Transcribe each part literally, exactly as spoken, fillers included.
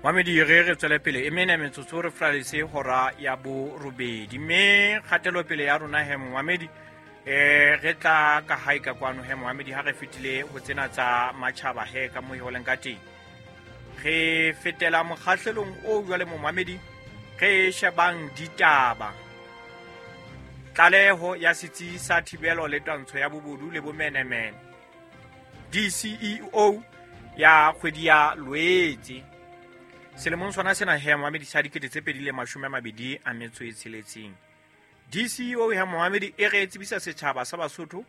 Mamedi, re re tswele pele e mene metsotso re flalese hora ya borobedi, mme kgatelopele ya rona he momamedi eh re tla ka hae ka kwano he momamedi ha re fetile ho tsena tsa matjhaba he ka mo e holeng ka teng. Re fetela mokgahlelong o jwale momamedi, re shebang ditaba. Tlaleho ya setsi sa thibelo le twantsho ya bobodu le bomenemene D C E O ya kgwedi ya Loetse selemong sona sena he momamedi sa dikete tse pedi le mashome a mabedi a metso e tsheletseng. D C E O ya momamedi e re tsebisa setjhaba sa Basotho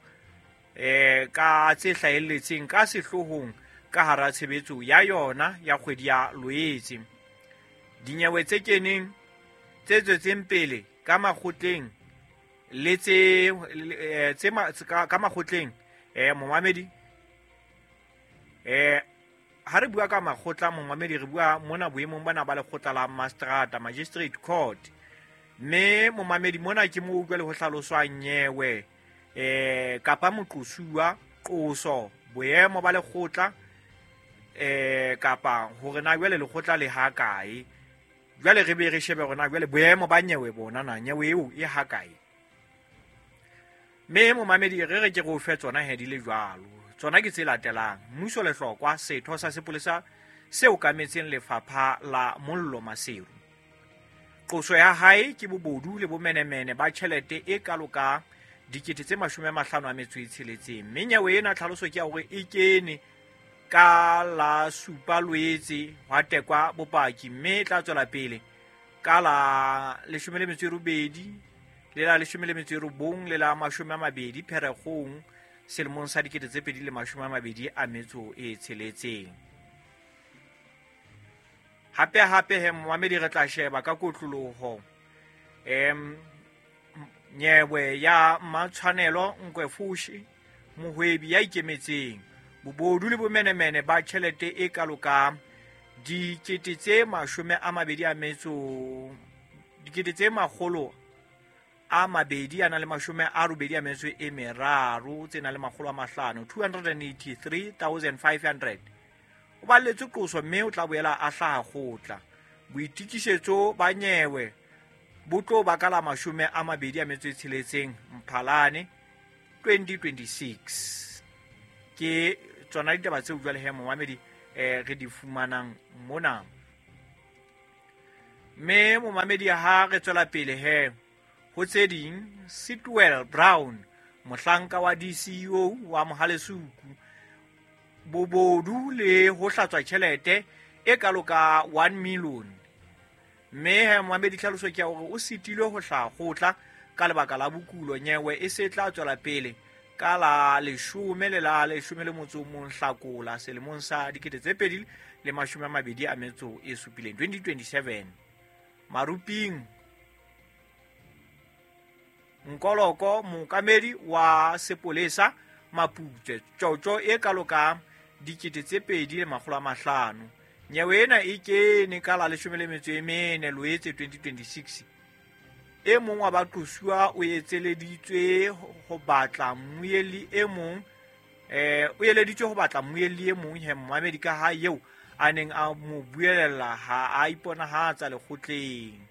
eh ka tse hlahelletseng ka sehloohong ka hara tshebetso ya yona ya kgwedi ya Loetse. Dinyewe tse keneng tse tswetseng pele ka makgotleng le tse tse ka makgotleng eh momamedi eh ha re bua ka makgotla momamedi re bua mona boemong bana ba lekgotla la Mastrata Magistrate Court, mme momamedi mona ke mo utlwa le ho hlaloswa nyewe eh kapa moqosuwa qoso boemo ba lekgotla eh kapa hore na jwale lekgotla le ha kae. Jwale re be re shebe hore na jwale boemo ba nyewe bona na nyewe eo e ha kae. Mme momamedi re re ke re o fe tsona he di le jwalo. Tsona ke tse latelang. Mmuso Lehlokwa, setho sa sepolesa se okametseng lefapha la Mollo Maseru. Qoso ya hae ke bobodu le bomenemene ba tjhelete e kalo ka dikete tse mashome a mahlano a metso e tsheletseng. Mme nyewe ena tlhaloso ke ya hore e kene ka la supa Loetse hwa tekwa bopaki, mme e tla tswela pele ka la leshome le metso e robedi le la leshome le metso e robong le la mashome a mabedi Pherekgong selemong sa dikete tse pedi le mashome a mabedi a metso e tsheletseng. Hape hape he momamedi re tla sheba ka kotloloho em nyewe ya Matshwanelo Nkwefushi, mohwebi ya ikemetseng, bobodu le bomenemene ba tjhelete e kalo ka dikete tse mashome a mabedi a metso dikete tse makgolo a mabedi a na le mashome a robedi a metso e meraro tse nang le makgolo a mahlano two hundred eighty-three thousand five hundred. O balletswe qoso mme o tla boela a hlaha kgotla. Boitokisetso ba nyewe bo tlo ba ka la mashome a mabedi a metso e tsheletseng Mphalane twenty twenty-six. Ke tsona ditaba tseo jwale he momamedi eh re di fumanang mona. Mme momamedi ha re tswela pele he ho tse ding, Sitwell Brown, mohlanka wa D C E O wa Mohalesuku, bobodu le ho hlatswa tjhelete e kalo ka one million. Mme he momamedi tlhaloso ke ya hore o sitilwe ho hlaha kgotla ka lebaka la bokulo. Nyewe e se tla tswela pele ka la leshome le la leshome le motso o mong Hlakola selemong sa dikete tse pedi le mashome a mabedi a metso e supileng twenty twenty-seven. Maruping Nkoloko, mookamedi wa sepolesa Maputswe, tjotjo e kalo ka dikete tse pedi le makgolo a mahlano. Nyewe ena e kene ka la leshome le metso e mene Loetse twenty twenty-six. E mong wa baqosuwa o etseleditswe ho batla mmuelli e mong eh o eleditswe ho batla mmuelli e mong he momamedi ka ha eo a neng a mo buelela ha a iponahatsa lekgotleng.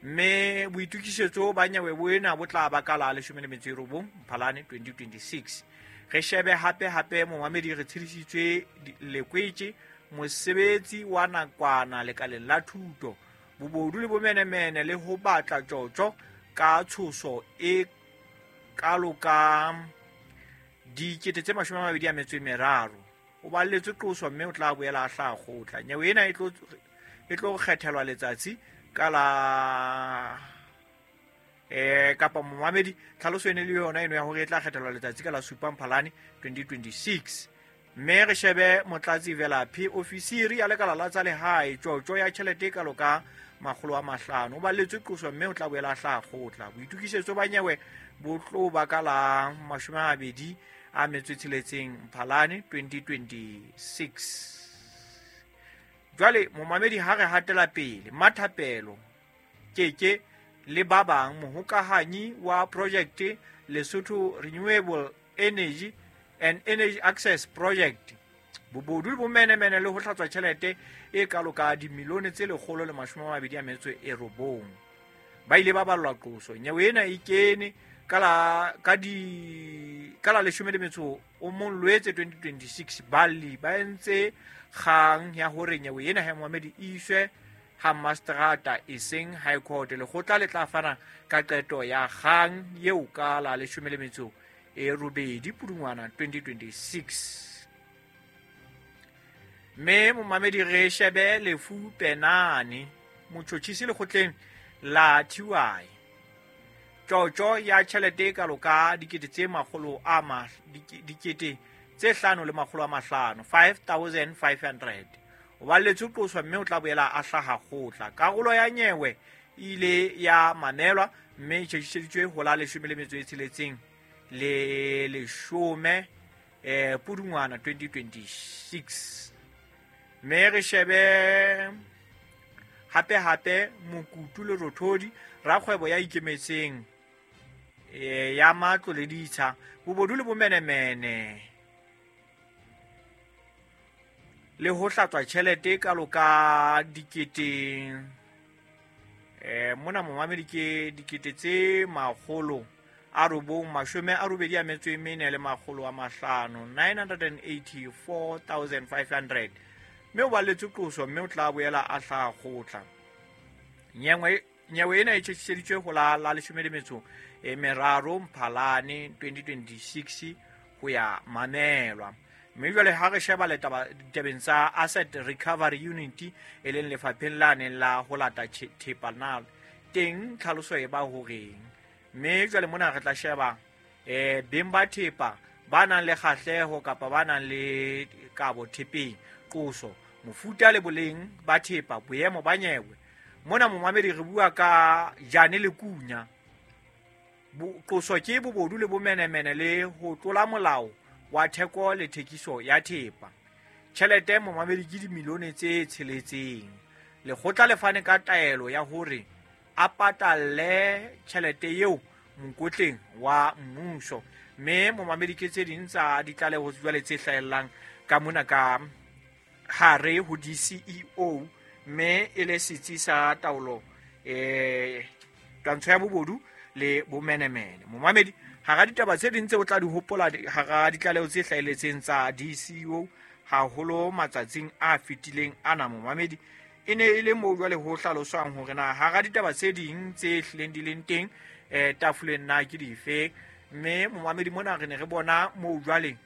Mme boitokisetso ba nyewe bo ena bo tla ba ka la leshome le metso e robong Mphalane twenty twenty-six. Re shebe hape hape momamedi re tshedisitswe Lekwetse, mosebetsi wa nakwana lekaleng la thuto, bobodu le bomenemene le ho batla tjotjo ka tshoso e kalo ka dikete tse mashome a mabedi a metso e meraro. O balletswe qoso mme o tla boela a hlaha kgotla. Nyewe ena e tlo e tlo kgethelwa letsatsi ka la eh kapa momamedi tlhaloso ene le yona eno ya hore e tla kgethelwa letsatsi ka la supa Mphalane twenty twenty-six. Mme re shebe Motlatsi Velaphi, ofisiri ya lekala la tsa lehae, tjotjo ya tjhelete e kalo ka makgolo a mahlano. O balletswe qoso mme o tla boela a hlaha kgotla. Boitokisetso ba nyewe bo tlo ba ka la mashome a mabedi a metso e tsheletseng Mphalane twenty twenty-six. Jwale momamedi ha re hatela pele, Mathapelo Keke le ba bang, mohokahanyi wa project Lesotho Renewable Energy and Energy Access Project, Bobodu le bomenemene le ho hlatswa tjhelete e kalo ka dimilione tse lekgolo le mashome a mabedi a metso e robong. Ba ile ba ballwa qoso. Nyewe ena e kene ka la ka di ka la leshome le metso o mong Loetse twenty twenty-six. Balli ba entse kgang ya hore nyewe ena ha momamedi e iswe ha mastrata e seng High Court. Lekgotla le tla fana ka qeto ya kgang eo ka la leshome le metso e robedi Pudungwana twenty twenty-six. Mme momamedi re shebe lefu penane motjhotjhisi lekgotleng la T Y. Tjotjo ya tjhelete e kalo ka dikete tse makgolo a ma dikete tse hlano le makgolo a mahlano five thousand five hundred. O balletswe qoswa mme o tla boela a hlaha kgotla. Karolo ya nyewe ile ya mamelwa mme e tjhetjhiseditswe ho la leshome le metso e tsheletseng le leshome eh Pudungwana twenty twenty-six. Mme re shebe hape hape Mokutu le Rothodi rakgwebo ya ikemetseng eh ya matlo le ditsha bobodu le bomenemene le ho hlatswa tjhelete kalo ka dikete eh mona momamedi ke dikete tse makgolo a robong mashome a robedi a metso e mene le makgolo a mahlano nine hundred eighty-four thousand five hundred. Mme o balletswe qoso mme o tla boela a hlaha kgotla. Nyewe nyewe ena e tjhetjhiseditswe ho la la leshome le metso e meraro Mphalane twenty twenty-six ho ya mamelwa. Mme jwale ha re sheba letaba ditabeng tsa Asset Recovery Unit e leng lefapheng la neng la ho lata thepa na teng tlhaloso e ba horeng. Mme jwale mona re tla sheba eh beng ba thepa ba nang le kgahleho kapa ba nang le kabo thepeng, qoso, mofuta le boleng ba thepa, boemo ba nyewe. Mona momamedi re bua ka Jane le Kunya. Qoso ke bobodu le bomenemene le ho tlola molao wa theko le thekiso ya thepa. Tjhelete momamedi ke dimilione tse tsheletseng. Lekgotla le fane ka taelo ya hore a patalle tjhelete eo mokotleng wa mmuso. Mme momamedi ke tse ding tsa ditlaleho jwale tse hlahellang ka mona ka hare ho D C E O, mme e le setsi sa taolo eh twantsho ya bobodu le bomenemene. Momamedi hara ditaba tse ding tse o tla di hopola hara ditlaleho tse hlahelletseng tsa D C E O haholo matsatsing a fetileng ana momamedi e ne e le moo jwale ho hlaloswang hore na hara ditaba tse ding tse hlileng di leng teng eh tafoleng na ke dife. Mme momamedi mona re ne re bona moo jwale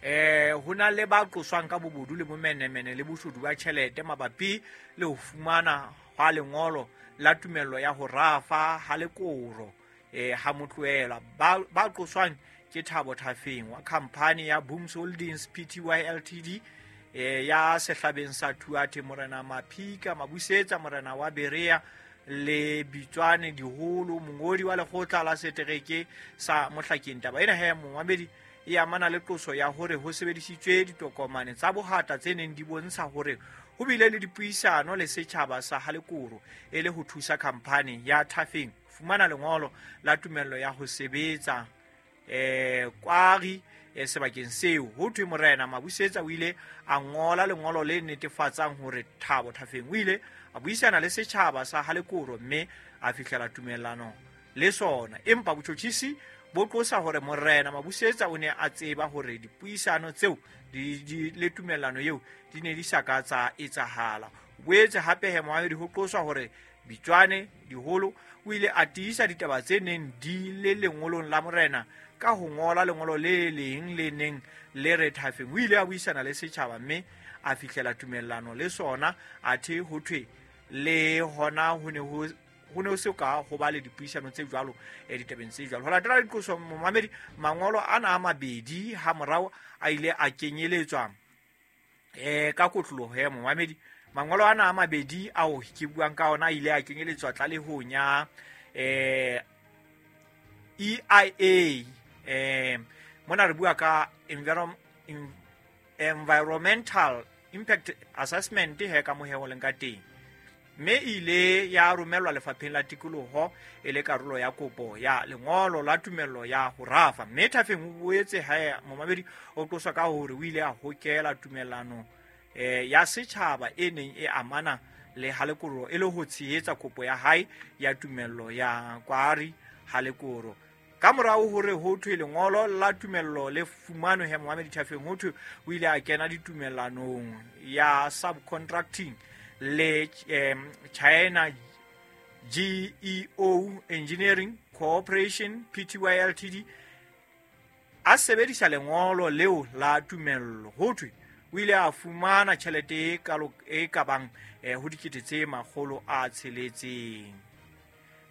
eh ho na le ba qoswang ka bobodu le bomenemene le boshodu ba tjhelete mabapi le ho fumana hwa lengolo la tumello ya ho rafa ha lekoro eh ha motlohela. Ba ba qoswang ke Thabo Thafeng wa khampani ya Booms Holdings P T Y L T D eh ya sehlabeng sa Thuate, Morena Maphika Mabusetsa, Morena wa Berea le Bitswane Diholo, mongodi wa lekgotla la setereke sa Mohlakeng. Taba ena he momamedi e amana le qoso ya hore ho sebedisitswe ditokomane tsa bohata tse neng di bontsha hore ho bile le dipuisano le setjhaba sa Halekoro e le ho thusa khampani ya Thafeng fumana lengolo la tumello ya ho sebetsa eh kwari eh, sebakeng seo. Ho thwe Morena Mabusetsa o ile a ngola lengolo le netefatsang hore Thabo Thafeng o ile a buisana le setjhaba sa Halekoro mme a fihlela tumellano le sona. Empa botjhotjhisi bo qosa hore Morena Mabusetsa o ne a tseba hore dipuisano tseo di, di le tumellano eo di ne di sa ka tsa etsahala. Boetse hape he moamedi ho qoswa hore Bitswane Diholo o ile a tiisa ditaba tse neng di le lengolong la Morena ka ho ngola lengolo le leng le neng le re Thafeng o ile a buisana le setjhaba mme a fihlela tumellano le sona, athe ho thwe le hona ho ne ho ho ne se ka ho ba le dipuisano tse jwalo e ditabeng tse jwalo. Ho latela diqoso momamedi mangolo ana a mabedi ha morao a ile a kenyeletswa eh ka kotloloho ya momamedi. Mangolo ana a mabedi ao ke buang ka ona a ile a kenyeletswa tlalehong ya eh E I A eh mona re bua ka environment environmental impact assessment he ka moheho leng ka teng. Mme ile ya romellwa lefapheng la tikoloho e le karolo ya kopo ya lengolo la tumello ya ho rafa. Mme Thafeng o boetse hae momamedi o qoswa ka hore o ile a hokela tumellano eh ya setjhaba e neng e amana le Halekoro e le ho tshehetsa kopo ya hae ya tumello ya kwari Halekoro. Ka morao hore ho thwe lengolo la tumello le fumanwe he momamedi Thafeng ho thwe o ile a kena ditumellanong ya subcontracting le um, China G E O Engineering Corporation P T Y L T D a sebedisa lengolo leo la tumello. Ho thwe o ile a fumana tjhelete e kalo e ka bang eh, ho dikete tse makgolo a tsheletseng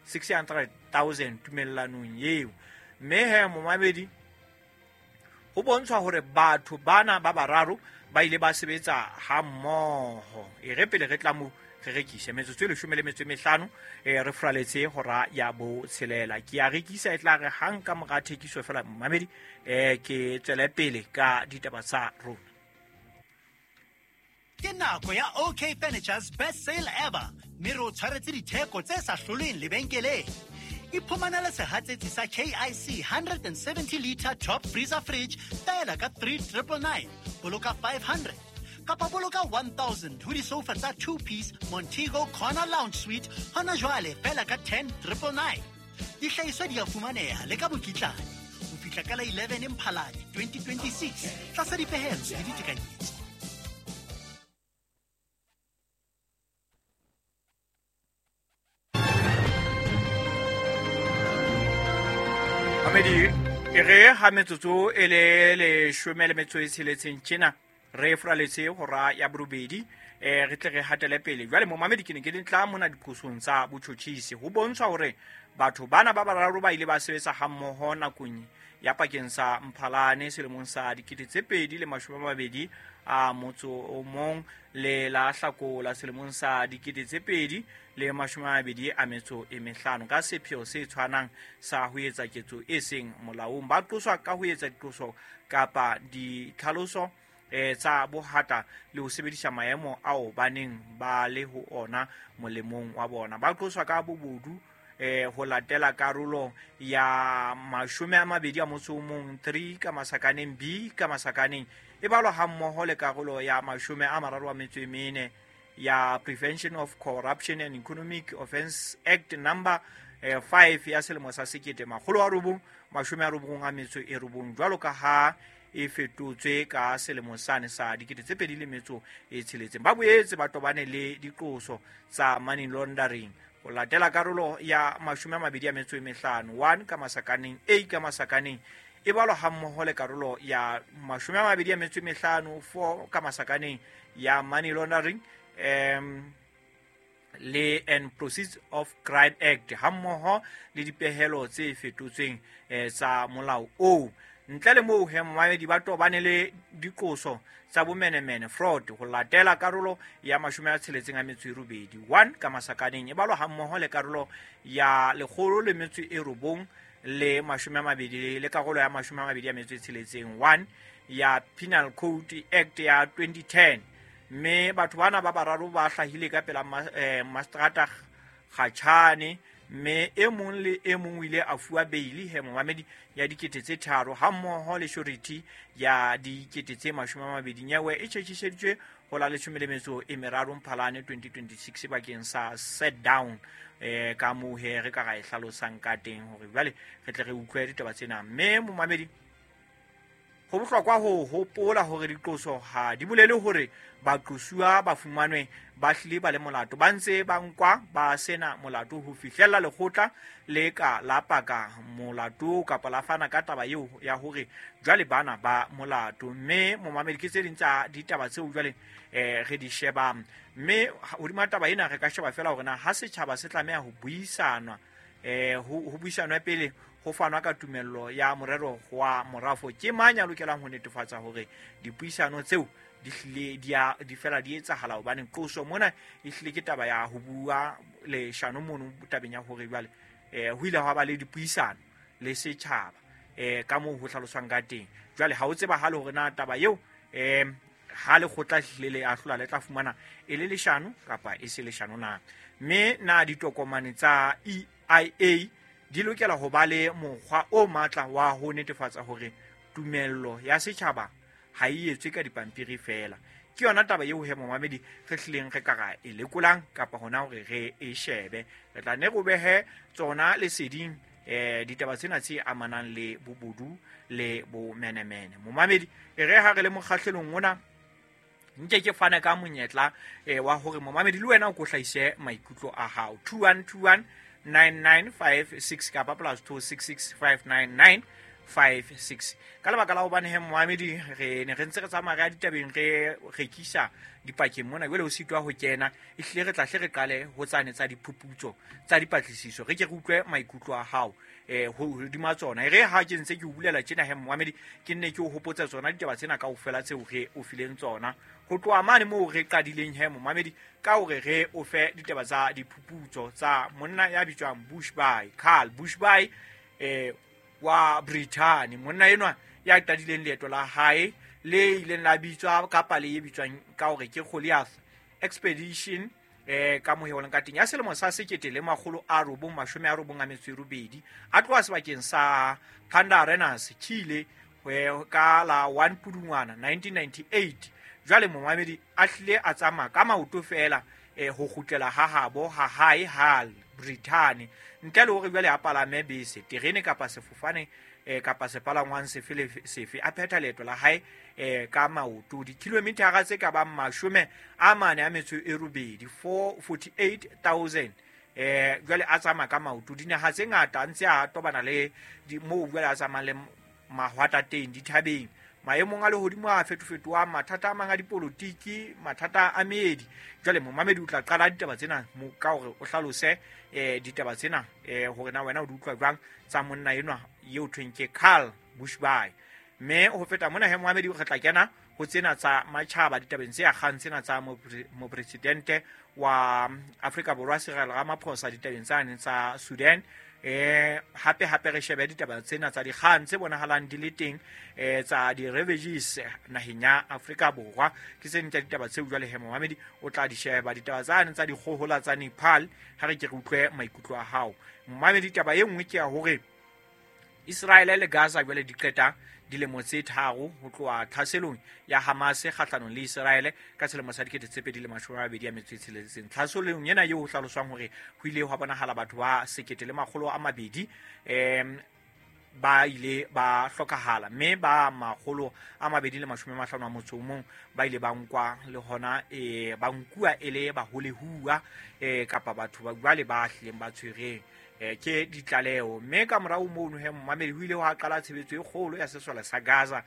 six hundred thousand tumellanong eo. Mme he momamedi ho bontshwa hore batho bana ba bararo ba ile ba sebetsa ha mmoho. E re pele re tla mo re rekise metsotso e leshome le metso e mehlano e re fraletse hora ya botshelela. Ke a rekisa e tla re hang ka mora thekiso fela momamedi eh ke tswele pele ka ditaba tsa rona. Ke nako ya O K Furniture's best sale ever. Mme re o tshwaretse ditheko tse sa hloleng lebenkeleng. Iphumanele sehatsetsi sa K I C one hundred seventy liter top freezer fridge feela ka three triple nine. Boloka five hundred. Kapa boloka one thousand ho disofa tsa two piece Montego Corner Lounge Suite hona jwale feela ka ten triple nine. Dihlahiswa di a fumaneha le ka mokitlane ho fihla ka la eleven Mphalane twenty twenty-six tlasa dipehelo le ditekanyetso. Mamedi e re ha metsotso e le leshome le metso e tsheletseng tjena re fraletse hora ya borobedi eh re tle re hatele pele. Jwale momamedi ke ne ke tla mona diqosong tsa botjhotjhisi ho bontshwa hore batho bana ba bararo ba ile ba sebetsa hammoho nakong ya pakeng sa Mphalane selemong sa dikete tse pedi le mashome a mabedi a motso o mong le la Hlakola selemong sa dikete tse pedi le mashome a mabedi a metso e mehlano ka sepheo se tshwanang sa ho etsa ketso e seng molaong. Ba qoswa ka ho etsa diqoso kapa ditlhaloso eh tsa bohata le ho sebedisa maemo ao ba neng ba le ho ona molemong wa bona. Ba qoswa ka bobodu eh ho latela karolo ya mashome a mabedi a motso o mong three ka masakaneng B ka masakaneng e balwa hammoho le karolo ya mashome a mararo a metso e mene ya Prevention of Corruption and Economic Offence Act number eh, five ya selemo sa sekete makgolo a robong mashome a robong a metso e robong jwalo ka ha e fetotswe ka selemo sane sa dikete tse pedi le metso e tsheletseng. Ba boetse ba tobane le diqoso tsa money laundering ho latela karolo ya mashome a mabedi a metso e mehlano one ka masakaneng A ka masakaneng e balwa hammoho le karolo ya mashome a mabedi a metso e mehlano four ka masakaneng ya money laundering um le and Proceeds of Crime Act hammoho le dipehelo tse fetotsweng eh, tsa molao oo. Ntle le moo he momamedi ba tobane le diqoso tsa bomenemene fraud ho latela karolo ya mashome a tsheletseng a metso e robedi one ka masakaneng e balwa hammoho le karolo ya lekgolo le metso e robong le mashome a mabedi le karolo ya mashome a mabedi a metso e tsheletseng one ya Penal Code Act ya twenty ten. Mme batho bana ba bararo ba hlahile ka pela eh, Mastrata Kgatjhane mme e mong le e mong o ile a fuwa beili he momamedi ya dikete tse tharo hammoho le surety ya dikete tse mashome a mabedi. Nyewe e tjhetjhiseditswe ho la leshome le metso e meraro Mphalane twenty twenty-six bakeng sa set down eh ka moo he re ka ra e hlalosang ka teng hore jwale re tle re utlwe ditaba tsena. Mme momamedi ho bohlokwa ho hopola hore diqoso ha di bolele hore baqosuwa ba fumanwe ba hlile ba le molato, ba ntse ba nkwa ba sena molato ho fihlella lekgotla le ka la paka molato kapa la fana ka taba eo ya hore jwale bana ba molato. Mme momamedi ke tse ding tsa ditaba tseo jwale eh re di shebang. Mme hodima taba ena re ka sheba fela hore na ha setjhaba se tlameha ho buisanwa eh ho buisanwa pele ho fanwa ka tumello ya morero wa morafo, ke mang ya lokelang ho netefatsa hore dipuisano tseo di hlile di a di fela di etsahala? Hobane qoso mona e hlile ke taba ya ho bua leshano mono tabeng ya hore jwale eh ho ile ha ba le dipuisano le setjhaba eh ka moo ho hlaloswang ka teng. Jwale ha o tsebahale hore na taba eo eh ha lekgotla hlile le ahlola le tla fumana e le leshano kapa e se leshano na. Mme na ditokomane tsa E I A di lokela ho ba le mokgwa o matla wa ho netefatsa hore tumello ya setjhaba ha e etswe ka dipampiri feela. Ke yona taba eo he momamedi re hlileng re ka ra e lekolang kapa hona hore re e shebe. Re tla ne re behe tsona leseding eh ditaba tsena tse amanang le bobodu le bomenemene. Momamedi e re ha re le mokgahlelong ona nke ke fana ka monyetla eh wa hore momamedi le wena o ko hlahise maikutlo a hao. Two one two one nine nine five six kapa plus two six six five nine nine five six. Ka lebaka la hobane he momamedi re ne re ntse re tsamaya re ya ditabeng re rekisa dipakeng mona, jwale o sitwa ho kena, ehlile re tla hle re qale ho tsane tsa diphuputso tsa dipatlisiso, re ke re utlwe maikutlo a hao eh hodima tsona. E re ha ke ntse ke o bulela tjena he momamedi, ke nne ke o hopotsa tsona ditaba tsena kaofela tseo re o fileng tsona ho tloha mane moo re qadileng he momamedi, ka hore re o fe ditaba tsa diphuputso tsa monna ya bitswang Bushby, Carl Bushby eh wa Britain, monna enwa ya qadileng leeto la hae le ileng la bitswa kapa le e bitswang ka hore ke Goliath Expedition eh ka moheoleng ka teng ya selemo sa sekete le makgolo a robong mashome a robong a metso e robedi, a tloha sebakeng sa Panda Arenas Chile ka la one Pudungwana nineteen ninety-eight. Jwale momamedi a hlile a tsamaya ka maoto feela eh ho kgutlela ha habo ha hae ha Britain, ntle le hore jwale a palame bese, terene kapa sefofane eh kapa sepalangwang sefe le sefe, a phetha leeto la hae eh ka maoto dikilomithara tse ka bang mashome a mane a metso e robedi, four forty-eight thousand eh jwale a tsamaya ka maoto dinaha tse ngata, a ntse a tobana le moo jwale a tsamayang le mahwatateng dithabeng, maemong a lehodimo a fetofetohang, mathata a mang a dipolotiki, mathata a meedi. Jwale momamedi o tla qala ditaba tsena ka hore o hlalose eh ditaba tsena eh hore na wena o di utlwa jwang tsa monna enwa eo thweng ke Carl Bushby. Mme ho feta mona he momamedi re tla kena ho tsena tsa matjhaba ditabeng tse akgang tsena tsa mopresidente wa Afrika Borwa Cyril Ramaphosa ditabeng tsane tsa Sudan. Eh hape hape re shebe ditaba tsena tsa dikgang tse bonahalang di le teng eh tsa di-refugees naheng ya Afrika Borwa. Ke tse ding tsa ditaba tseo jwale he momamedi o tla di sheba. Ditaba tsane tsa dikgohola tsa Nepal, ha re ke re utlwe maikutlo a hao momamedi. Taba e nngwe ke ya hore Israel le Gaza jwale di qeta dilemo tse tharo ho tloha tlhaselong ya Hamas kgahlanong le Israel ka selemo sa dikete tse pedi le mashome a mabedi a metso e tsheletseng. Tlhaselong ena eo ho hlaloswang hore ho ile hwa bonahala batho ba sekete le makgolo a mabedi em ba ile ba hlokahala, mme ba makgolo a mabedi le mashome a mahlano a motso o mong ba ile ba nkwa le hona eh ba nkuwa e le baholehuwa eh kapa batho ba jwale ba hlileng ba tshwereng eh ke ditlaleho. Mme ka morao mono he momamedi ho ile hwa qala tshebetso e kgolo ya sesole sa Gaza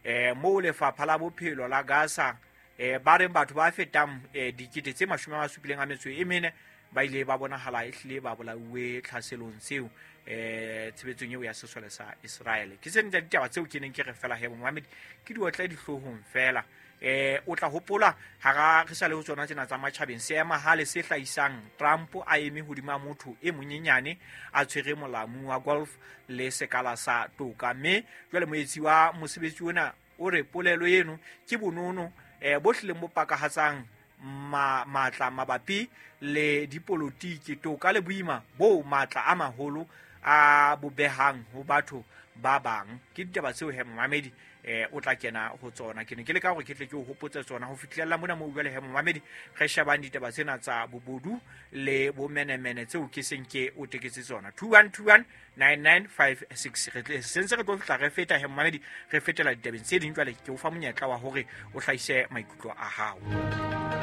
eh moo lefapha la bophelo la Gaza eh ba reng batho ba fetang eh dikete tse mashome a supileng a metso e mene ba ile ba bonahala ehlile ba bolauwe tlhaselong tseo eh tshebetsong eo ya sesole sa Israel. Ke tse ding tsa ditaba tseo ke neng ke re fela he momamedi ke di otle dihloohong fela. Eh o tla hopola hara re sa le ho tsona tsena tsa matjhabeng, seemahale se hlahisang Trump a eme hodima motho e monyenyane a tshwere molamu wa golf le sekala sa toka. Mme jwale moetsi wa mosebetsi ona o re polelo eno ke bonono eh bo hlileng bo pakahatsang ma matla mabapi le dipolotiki, toka le boima bo matla a maholo a bobehang ho batho ba bang. Ke ditaba tseo he momamedi eh o tla kena ho tsona. Ke ne ke le ka hore ke tle ke o hopotse tsona ho fihlella mona moo jwale he momamedi re shebang ditaba tsena tsa bobodu le bomenemene tseo ke seng ke o teketse tsona. Two one two one nine nine five six. Re tle sentse re tlo fihla re feta he momamedi re fetela ditabeng tse ding. Jwale ke o fa monyetla wa hore o hlahise maikutlo a hao.